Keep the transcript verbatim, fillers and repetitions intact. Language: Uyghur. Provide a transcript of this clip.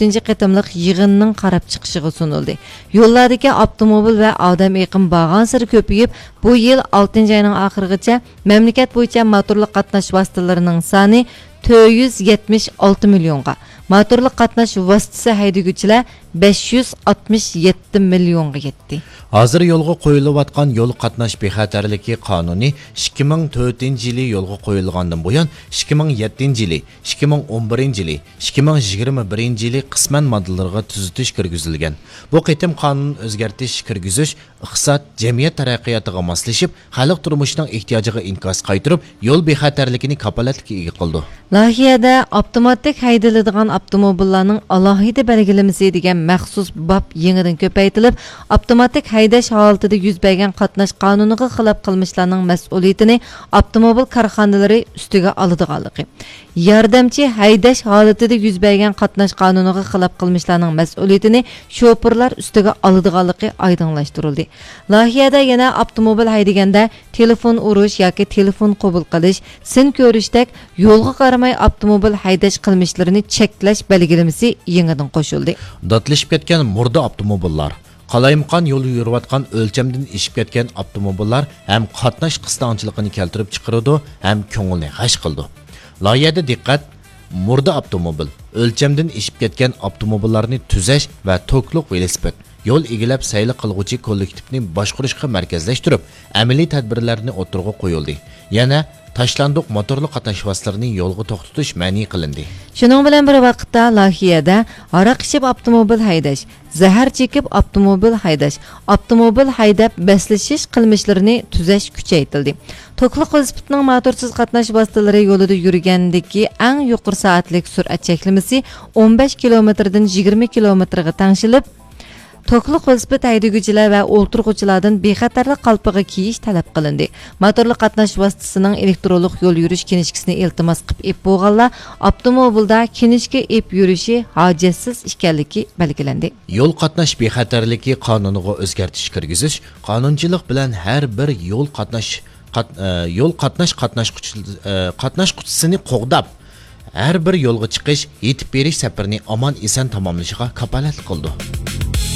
ئۈچىنچى قېتىملىق يىغىننىڭ قاراپ چىقىشىغا سۇنۇلدى. يوللاردىكى ئاپتوموبىل ۋە ئادەم ئېقىمى بارغانسېرى كۆپىيىپ، بۇ يىل ئالتىنچى ئاينىڭ ئاخىرىغىچە مەملىكەت بويىچە موتورلۇق قاتناش ۋاسىتىلىرىنىڭ سانى تۆت يۈز يەتمىش ئالتە مىليونغا، موتورلۇق قاتناش ۋاسىتىسى ھەيدىگۈچىلەر بەش يۈز ئاتمىش يەتتە مىليونغا يەتتى. ھازىر يولغا قويۇلۇۋاتقان يول قاتناش بىخەتەرلىكى قانۇنى ئىككى مىڭ تۆتىنچى يىلى يولغا قويۇلغاندىن بۇيان، ئىككى مىڭ يەتتىنچى يىلى، ئىككى مىڭ ئون بىرىنچى يىلى، ئىككى مىڭ يىگىرمە بىرىنچى يىلى قىسمەن ماددىلىرىغا تۈزىتىش كىرگۈزۈلگەن. بۇ قېتىم قانۇن ئۆزگەرتىش كىرگۈزۈش ئىقتىساد، جەمئىيەت تەرەققىياتىغا ماسلىشىپ، خەلق تۇرمۇشىنىڭ ئېھتىياجىغا ئىنكاس قايتۇرۇپ، يول بىخەتەرلىكىنى كاپالەتلىككە ئىگە قىلىدۇ. لايىھەدە ئاپتوماتىك ھەيدىلىدىغان ئاپتوموبىللارنىڭ ئالاھىدە بەلگىلىمىسى دېگەن مەخسۇس باب يېڭىدىن كۆپەيتىلىپ، ئاپتوماتىك ھەيدەش ھالىتىدە يۈز بەرگەن قاتناش قانۇنىغا خىلاپ قىلمىشلارنىڭ مەسئۇلىيىتىنى ئاپتوموبىل كارخانىلىرى ئۈستىگە ئالىدىغانلىقى، ياردەمچى ھەيدەش ھالىتىدە يۈز بەرگەن قاتناش قانۇنىغا خىلاپ قىلمىشلارنىڭ مەسئۇلىيىتىنى شوپۇرلار ئۈستىگە ئالىدىغانلىقى ئايدىڭلاشتۇرۇلدى. لايىھەدە يەنە ئاپتوموبىل ھەيدىگەندە تېلېفون ئۇرۇش ياكى تېلېفون قوبۇل قىلىش، سىن كۆرۈشتەك يولغا قارىماي ئاپتوموبىل ھەيدەش قىلمىشلىرىنى چەكلەش بەلگىلىمىسى يېڭىدىن قوشۇلدى. داتلىشىپ كەتكەن مۇردە ئاپتوموبىللار، قالايمىقان يول يۈرۈۋاتقان ئۆلچەمدىن ئېشىپ كەتكەن ئاپتوموبىللار ھەم قاتناش قىستاڭچىلىقىنى كەلتۈرۈپ چىقىرىدۇ ھەم كۆڭۈلنى غەش قىلىدۇ. لايىھەدە دىققەت، مۇردە ئاپتوموبىل، ئۆلچەمدىن ئېشىپ كەتكەن ئاپتوموبىللارنى تۈزەش ۋە توكلۇق ۋېلىسىپىت، يول ئىگىلەپ سەيلە قىلغۇچى كوللېكتىپنى باشقۇرۇشقا مەركەزلەشتۈرۈپ، ئەمەلىي تەدبىرلەرنى ئوتتۇرىغا قويۇلدى. يەنە تاشلاندۇق موتورلۇق قاتناش ۋاسىتىلىرىنى يولغا توختىتىش مەنئى قىلىندى. شۇنىڭ بىلەن بىر ۋاقىتتا، لايىھەدە ھاراق ئىچىپ ئاپتوموبىل ھەيدەش، زەھەر چېكىپ ئاپتوموبىل ھەيدەش، ئاپتوموبىل ھەيدەپ بەسلىشىش قىلمىشلىرىنى تۈزەش كۈچەيتىلدى. توكلۇق ۋېلىسىپىتنىڭ موتورسىز قاتناش ۋاسىتىلىرى يولىدا يۈرگەندىكى ئەڭ يۇقىرى سائەتلىك سۈرئەت چەكلىمىسى ئون بەش كىلومېتىردىن يىگىرمە كىلومېتىرغا تەڭشىلىپ، توكلۇق ۋېلىسىپىت ھەيدىگۈچىلەر ۋە ئولتۇرغۇچىلاردىن بىخەتەرلىك قالپىقى كىيىش تەلەپ قىلىندى. موتورلۇق قاتناش ۋاسىتىسىنىڭ ئېلېكترونلۇق يول يۈرۈش كىنىشكىسىنى ئىلتىماس قىلىپ ئېلىپ بولغانلار ئاپتوموبىلدا كىنىشكا ئېلىپ يۈرۈشى ھاجەتسىز ئىكەنلىكى بەلگىلەندى. يول قاتناش بىخەتەرلىكى قانۇنىغا ئۆزگەرتىش كىرگۈزۈش قانۇنچىلىق بىلەن ھەر بىر يول قاتناش، قات-، ئە، يول قاتناش قاتناشقۇچى-، ئە، قاتناشقۇچىسىنى قوغداپ، ھەر بىر يولغا چىقىش، يېتىپ بېرىش سەپىرىنى ئامان-ئېسەن تاماملىشىغا كاپالەتلىك قىلىدۇ.